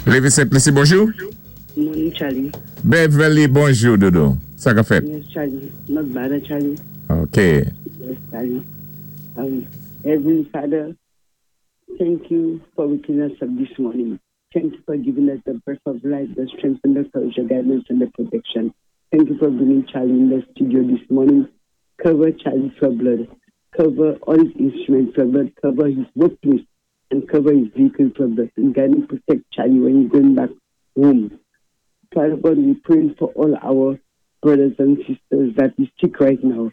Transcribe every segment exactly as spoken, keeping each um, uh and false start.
Lévi Sent-Lisi, bonjou. Morning, Charlie. Beverly, bonjou, dodo. Sa ka fèt? Yes, Charlie. Not bad, Charlie. OK. Yes, Charlie. Um, Heavenly Father, thank you for waking us up this morning. Thank you for giving us the breath of life, the strength and the courage, the guidance and the protection. Thank you for bringing Charlie in the studio this morning. Cover Charlie for blood. Cover all his instruments for blood. Cover his workplace and cover his vehicle for blood. And guide and protect Charlie when he's going back home. Father God, we pray for all our brothers and sisters that is sick right now.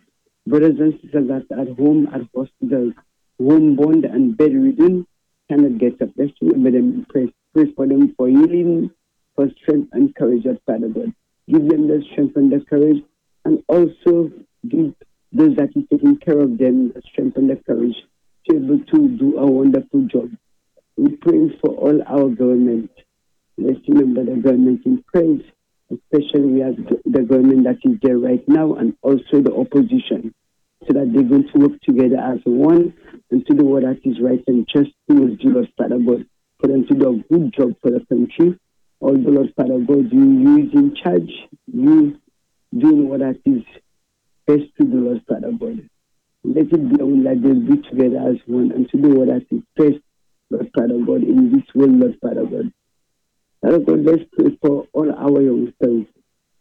Brothers and sisters that are at home, at hospitals, homebound and bedridden, cannot get up. Let's remember them. Pray, pray for them for healing, for strength and courage, Lord Father God. Give them the strength and the courage, and also give those that is taking care of them the strength and the courage to be able to do a wonderful job. We pray for all our government. Let's remember the government in prayers, especially we have the government that is there right now and also the opposition, so that they're going to work together as one and to do what that is right and just towards you, Lord Father God, for them to do a good job for the country. Although, Lord Father God, you, you is in charge, you doing what that is best to do, Lord Father God. Let it be known that they'll be together as one and to do what that is best, Lord Father God, in this world, Lord Father God. Father God, let's pray for all our youngsters,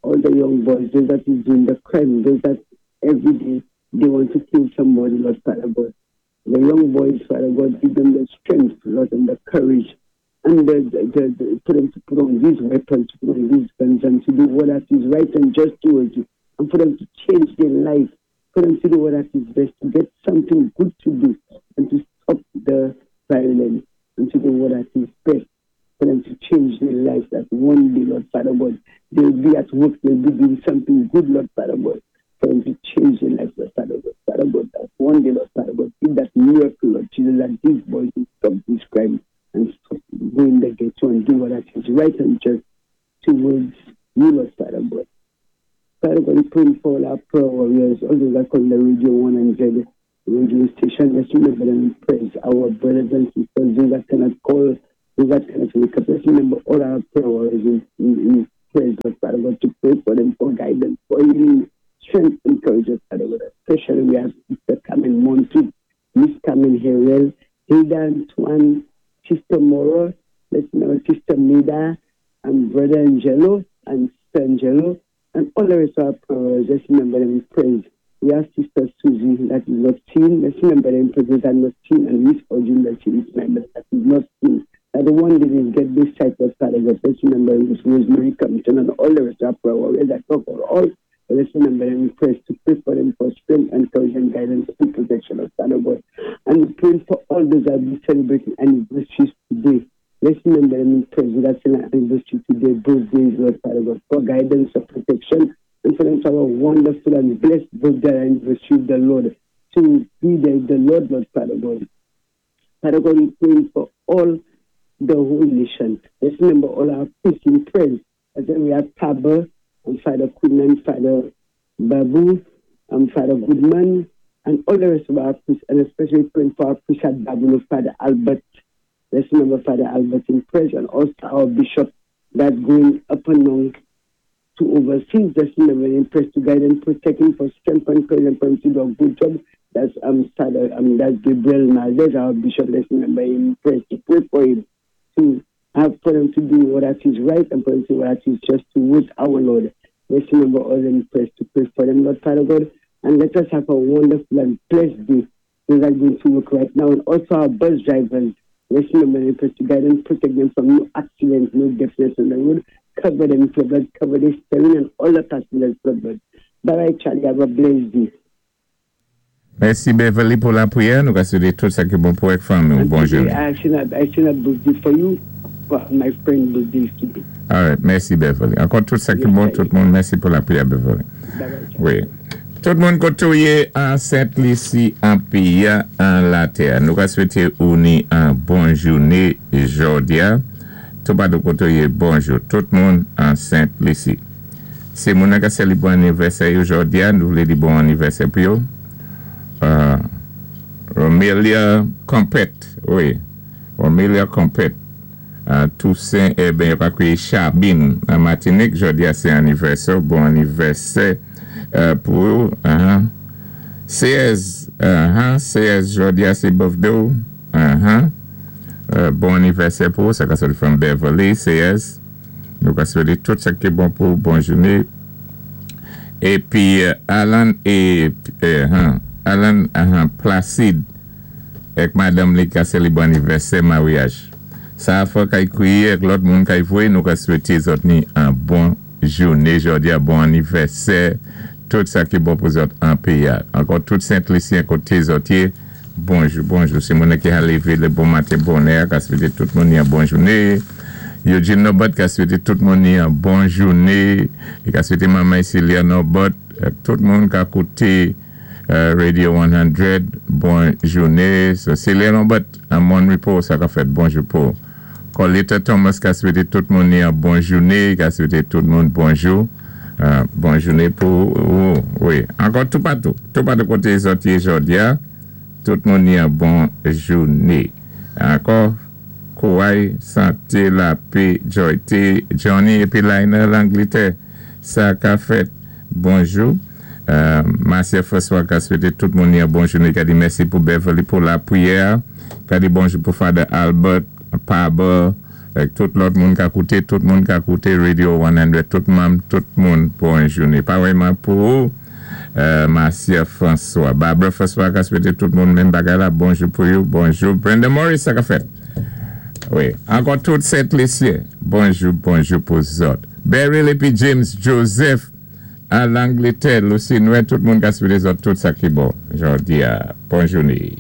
all the young boys, those that is doing the crime, those that every day they want to kill somebody, Lord Father God. The young boys, Father God, give them the strength, Lord, and the courage, and the, the, the, the, for them to put on these weapons, to put on these guns, and to do what that is right and just towards you, and for them to change their life, for them to do what that is best, to get something good to do, and to stop the violence, and to do what that is best, for them to change their lives, that one day, Lord Father God, they'll be at work, they'll be doing something good, Lord Father God, for them to change their life, Lord Father God. Father God, that one day, Lord Father God, give that miracle, Lord Jesus, that these boys will stop this crime and stop going the ghetto and do what that is right and just towards you, Lord Father God. Father God, we pray for all our prayer warriors, all those that call the Radio one hundred radio station. Let's remember them in prayers, our brothers and sisters, those that cannot call, those that cannot wake up. Let's remember all our prayer warriors in, in, in prayers, Lord Father God, to pray for them for guidance, for healing, strength, and courage, Lord Father God. Especially we have Sister Carmen Montu, Miss Carmen Harrell, Hilda Antoine, Sister Mora, let's remember Sister Mida, and Brother Angelo, and Sister Angelo, and all the rest of our prayers. Let's remember them in prayers. We have Sister Susie that is not seen. Let's remember them in prayers that not seen, and Miss Ojun that she is member that is not seen. That the one day they get this sight of Father God. Let's remember Miss Rosemary Compton and all the rest of our prayer warriors that talk for all. But let's remember them in prayers to pray for them for strength and courage and guidance and protection of Father God. And we pray for all those that will be celebrating anniversaries today. Let's remember them in prayers that's an anniversary today, birthdays, Lord Father God, for guidance and protection, and for them to have a wonderful and blessed birthday anniversary of the Lord, to be there with the Lord, Lord Father God. Father God, we pray for all the whole nation. Let's remember all our priests in prayers. As we have Pabba, and Father Goodman, Father Babu, and Father Goodman, and all the rest of our priests, and especially praying for our priest at Babu, Father Albert. Let's remember Father Albert in prayers, and also our bishop that's going up and down to overseas. Let's remember in prayers to guide and protect him for strength and courage and for him to do a good job. That's um, Father, um, that's Gabriel Maldez, our bishop. Let's remember him in prayers to pray for him, to have for him to do what that is right and for him to do what that is just towards our Lord. Let's remember all them prayers to pray for them, Lord Father God, and let us have a wonderful and blessed day. Those are going to work right now, and also our bus drivers. Let's remember them to guide and protect them from no accidents, no deafness on the road. Cover them with your blood, cover the steering and all the passengers with blood. Bye bye, Charlie. Have a blessed day. Mèsi Beverly pou lapwiyè. Nou swété tout sa ki bon pou avèk fanmi. And Bonjou. today, I should have, I should have birthday for you, but my friend birthday is today. All right, mèsi Beverly. Ankò tout sa ki bon, tout moun. Mèsi pou lapwiyè Beverly. Bye bye. Charlie. Wi. Tout moun koté ou yé an Sent-Lisi, an péyi, an latè. Nou ka swété ou ni an bon jouné jòdi-a. Tout patou koté ou yé, bonjou. Tout moun an Sent-Lisi. Si moun ka sélébwé anivèsè jòdi-a, nou vlé di bon anivèsè pou yo. Euh, Romelia Compet, wi. Romelia Compet. Toussaint, eh ben, pa kwiyé Chabine, an Matinik, jòdi-a sé anivèsè, bon anivèsè pou ou. C S, C S, jòdi-a sé birthday ou. Bon anivèsè pou ou, sa ka sòti from Beverly, C S. Nou ka swété tout sa ki bon pou ou, bon jouné. Épi, Alan e, Alan Placide, èk madanm li ka sélébwé anivèsè maryaj. Sa a fò kay kwiyé èk lòt moun kay vwé, nou ka swété zòt ni an bon jouné, jòdi-a bon anivèsè, tout sa ki bon pou zòt an péyi-a. Ankò tout Sent Lisyen koté zòt yé, bonjou, bonjou. Si moun ki a lévé lé bon maten bonè, ka swété tout moun ni an bon jouné. Eugene Nobot ka swété tout moun ni an bon jouné. E ka swété manman Celia Nobot, tout moun ka kouté Radio san, bon jouné. So Celia Nobot, an Mon Repos, sa ka fèt bonjou pou. Colita Thomas ka swété tout moun ni an bon jouné, ka swété tout moun bonjou. Bon jouné pou ou, wi. Ankò tout patou, tout patou koté zòt yé jòdi-a, tout moun ni an bon jouné. Ankò, kouway, santé, lapè, joyté, Johnny épi Lionel Angletè, sa ka fèt bonjou. Marcia François ka swété tout moun ni an bon jouné, ka di mèsi pou Beverly pou lapwiyè, ka di bonjou pou Father Albert, Pablo, tout lòt moun ka kouté, tout moun ka kouté Radio san, tout manm, tout moun bon jouné. Parèyman pou ou, Marcia François. Barbara François ka swété tout moun menm bagay la, bonjou pou you, bonjou. Brenda Morris, sa ka fèt. Wi, ankò tout Sent Lisyen, bonjou, bonjou pou zòt. Beryl épi James Joseph, a Langletè, Lucy Noé, tout moun ka swété zòt tout sa ki bon. Jòdi-a, bon jouné.